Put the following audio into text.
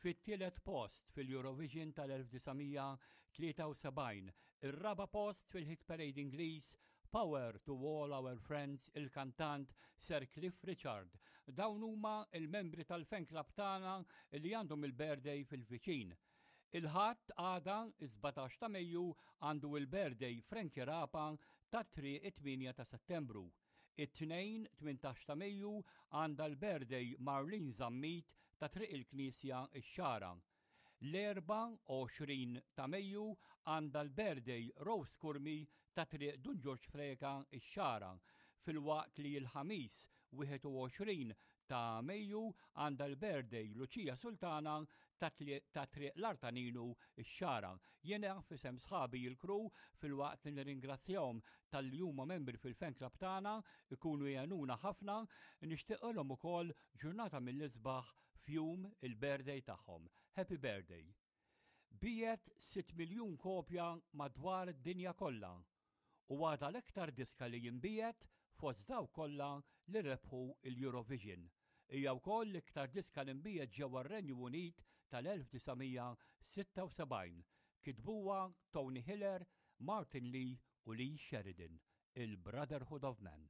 Fit-tielet post fil-Eurovision tal-1973, ir-raba' post fil-Hit Parade Ingliż, Power to All Our Friends il-kantant Sir Cliff Richard. Dawn huma il-membri tal-fan club tagħna li għandhom il-birthday fil-viċin. Il-Ħadd għada, is-17 ta' Mejju, għandu il-birthday Frankie Rapa ta' Triq it-8 ta' Settembru. It-Tnejn, 18 ta' Mejju, għandha l-birthday Marlene Zammit ta' Triq il-Knisja, ix-Xagħra. L-Erbgħa, 20 ta' Mejju, għandha l-birthday Rose Curmi ta' Triq Dun Ġorġ Preca, ix-Xagħra, filwaqt li l-Ħamis, 21 ta' Mejju, għandha l-birthday Lucia Sultana ta' Triq l-Artaninu, ix-Xagħra. Jiena f'isem sħabi l-crew filwaqt li nirringrazzjahom talli huma membri fil-fan club tagħna, ikunu jgħinuna ħafna, nixtieqilhom ukoll ġurnata mill-isbaħ f'jum il-birthday tagħhom. Happy birthday! Biegħet 6 miljun kopja madwar id-dinja kollha u għadha l-iktar diska li jinbiegħet fost dawk kollha li rebħu l-Eurovision. Hija wkoll l-iktar diska li nbiegħet ġewwa r-Renju Unit tal-1976. Kitbuha Tony Hiller, Martin Lee u Lee Sheridan, il-Brotherhood of Man.